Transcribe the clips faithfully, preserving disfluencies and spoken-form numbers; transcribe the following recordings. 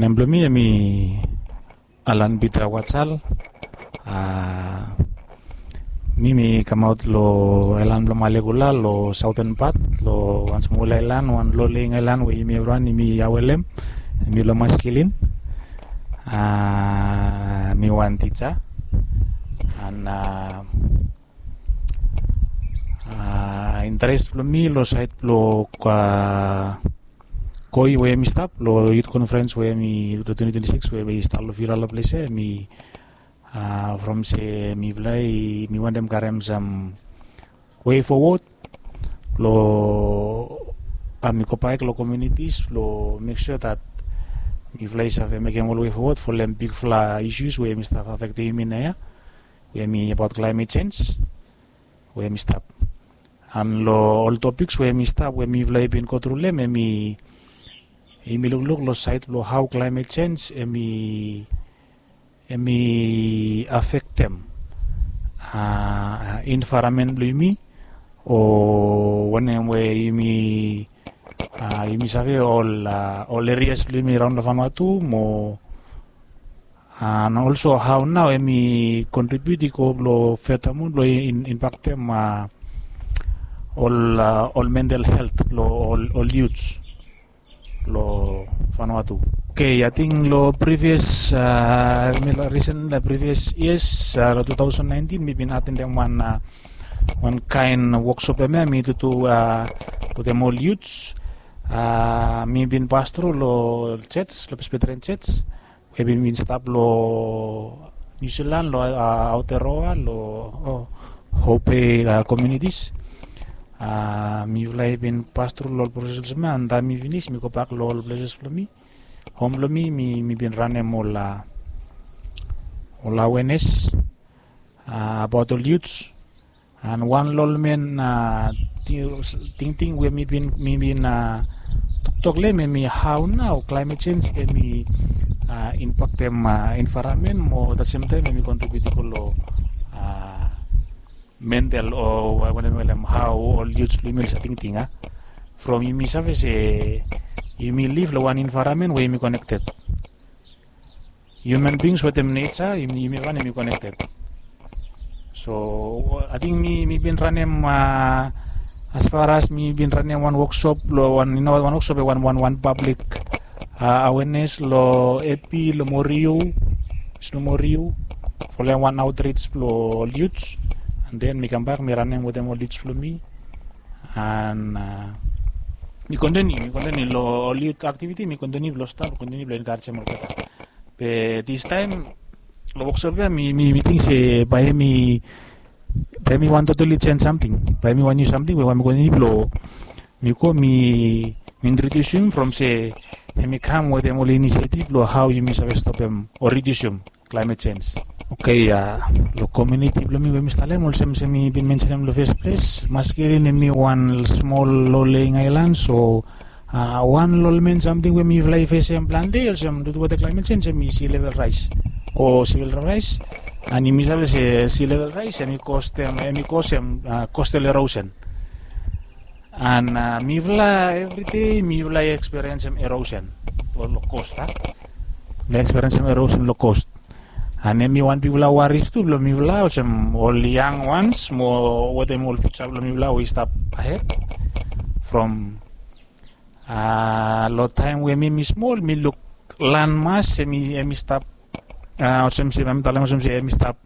Nem blong mi hemi Alan Peter Watsal. A, mi mi kamaot long aelan blong Malekula long saoten pat, long wan smol aelan, wan loleng aelan we yumi evriwan yumi awelem. Mi long Maskilin. A, mi wan tija. An a, a, interes blong mi long saed blong, a, Koi we hemi stap long youth conference we hemi long twenty twenty-six we i stap long Vila long ples ia, hemi, a, from se mifala i, mi wantem karem sam way forward blong, a, mi go back long communities blong make sure that mifala i save mekem ol way forward folem bigfala issues we hemi stap affectem yumi naoia, we hemi about climate change we hemi stap. An long ol topics we hemi stap, we mifala i bin go tru long hem, hemi, hemi lukluk long saed blong hao climate change hemi, hemi affectem, a, environment blong yumi, o wanem we yumi, a, yumi save ol, a, ol areas blong yumi raon long Vanuatu mo, a, and also hao nao hemi contribute i go blong furthermore blong in, impactem, a, ol, a, ol mental health blong ol, ol youths long Vanuatu. Okay, ating long previous, a, mi long recent, a, previous years, a, long two thousand nineteen mi bin atendem wan, a, wan kaen workshop hemia mi tutu, a, wetem ol youths. A, mi bin pas tru long church, long Presbyterian Church we bin, bin stap long New Zealand, long, a, Aotearoa, long, o, Hope, a, communities. A, mifala i bin pas tru long ol proses olsem ia, an taem mi finis mi gobak long ol places blong mi, hom blong mi, mi, mi bin ranem ol, a, ol awareness, a, about ol youths. An wan long ol men, a, ti-, tingting we mi bin, mi bin, a, toktok long hem, hemi hao nao climate change hemi, a, impaktem, a, environment mo at the same time hemi contribute i go long, a, mental o wa-, wanem, wanem, hao ol youths blong yumi oli save tingting, a. From yumi save se yumi live long wan environment we yumi connected. Human beings wetem nature, yumi, yumi wan yumi connected. So ating mi, mi bin ranem, a, as far as mi bin ranem wan workshop long wan, you know, wan workshop, wan, wan, wan public, a, awareness long Epi, long Moriu, Snu Moriu, folem wan outreach blong ol youths, and then mi kambak mi ranem wetem ol youths blong mi, and, a, mi continue, mi continue long ol youth activity, mi continue blong stap, continue blong encouragem olgeta. Be this time long workshop ia mi, mi, mi ting se bae hemi, bae hemi wan totally change samting, bae hemi wan niu samting we bae mi continue blong mi go mi, mi introducem from se hemi kam wetem ol initiative blong hao yumi save stopem o reducem climate change. Okay, a, long community blong mi we mi stap long hem, olsem se mi bin mensenem long first place, Maskilin hemi wan smol loleng aelan, so, a, wan long ol men samting we mifala i fesem plante olsem due to weather climate change hemi sea level rise o sea level rise. And yumi save se sea level rise hemi cause, hemi cause, a, coastal erosion. And, a, mifala everyday mifala i experiencem erosion long, long coast, a. Mifala i experiencem erosion long coast. And hemi wan bigfala worries tu blong mifala olsem ol young ones mo wetem ol future blong mifala we i stap ahead. From, a, long taem we mi, mi smol mi luk landmass hemi, hemi stap, a, olsem se mi talem olsem se hemi stap,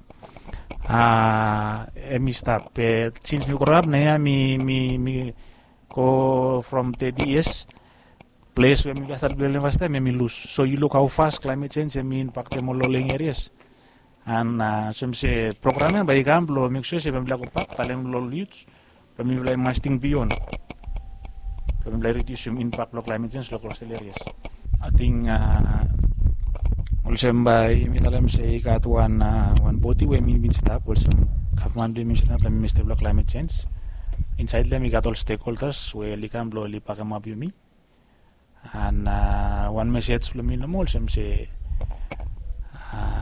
a, hemi stap. Be since mi grow up naoia mi, mi, mi go from thirty years, ples we mifala stat blong long hem fastaem hemi lus. So yu luk hao fast climate change hemi impaktem ol loleng areas. And, a, olsem se program ia bae i kam blong make sure se bae mifala i gobak talem long ol youths blong mifala i mas ting beyond blong mifala i reducem impact blong climate change long coastal areas. Ating, a, olsem bae mi talem se i gat wan, a, wan bodi we mi bin stap olsem gavman blong yumi stap long Ministry blong Climate Change. Insaed long hem i gat ol stakeholders we oli kam blong oli bakemap yumi. And, a, wan message blong mi nomo olsem se, a,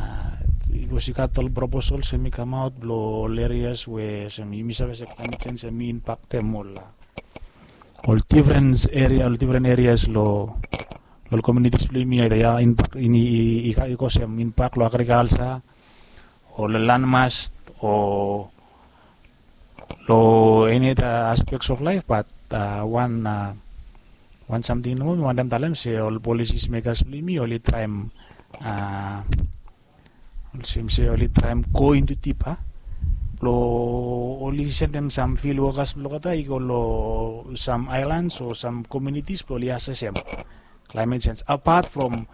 bikos i gat ol proposals hemi kamaot blong ol areas we olsem yumi save se climate change hemi impaktem ol, a, ol different area, ol different areas long, ol communities blong yumi ya in bak ini i go sem in bak long agriculture o long landmass o long any other aspects of life, but wan wan samting nomo mi wantem talem se ol policies makers blong yumi oli traem olsem se oli traem go into deeper blong oli sendem sam field workers blong olgeta i go long sam islands o sam communities blong oli assessem climate change, apart from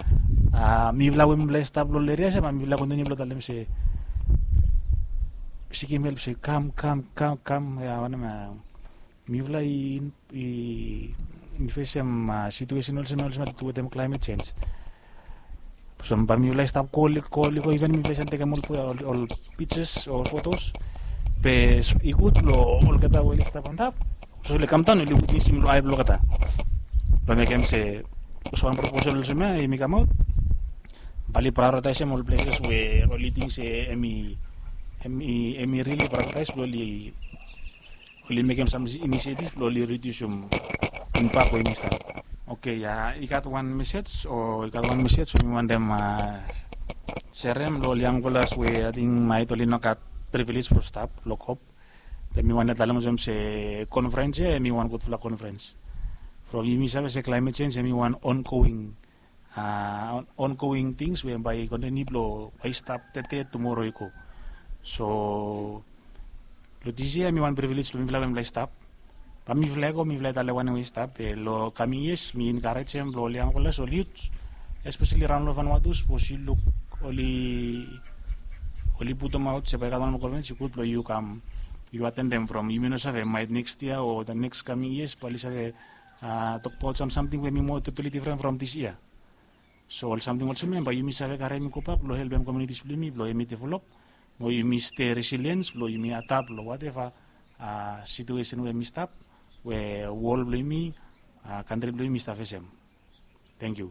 mifala we mifala i stap long ol eria se ma mifala kontiniu blong talem se sikim help se kam kam kam kam ya wanem ya mifala i i fesem situesen olsem ya olsem ya tu wetem climate change. So bae mifala i stap koli koli go iven mifala i save tekem ol ol pictures o fotos be i gud long olgeta we oli stap antap so oli kamdaon oli witnesim long ai blong olgeta blong mekem se olsem wan proposal olsem ya i mi kamaot bae oli prioritaisem ol places we oli ting se em i em i em i rili prioritaise blong oli oli mekem sam inisiatif blong oli ridiusim impak we yumi stap. Oke ya i gat wan mesej o i gat wan mesej we mi wantem serem long ol yangfelas we ating maet oli no gat privilege blong stap long kop. Be mi wantem talem olsem se konferens ya em i wan gudfala konferens from yumi save se climate change em i wan ongoing ongoing tings we bae i kontiniu blong bae i stap tede tumoro i go. So long dis yia em i wan privilege blong mifala we mifala i stap. Bae mifala i go mifala i talem wanem we i stap be long kaming yias mi enkarejem blong ol yangfelas ol yut espeseli raon long vanwatus bikos yu luk oli oli putumaot se bae i gat wan moa konferens i gud blong yu kam yu atendem from yumi no save maet neks yia o the neks kaming yias bae oli save tokbaot sam samting we mi moa totali difren from dis yia. So ol samting olsem ya bae yumi save karem i gobak blong helpem komunitis blong yumi blong yumi develop mo yumi stei resiliens blong yumi adap long wateva situesen we mi stap we wol blong yumi kantri blong yumi stap fesem. Tangkiu.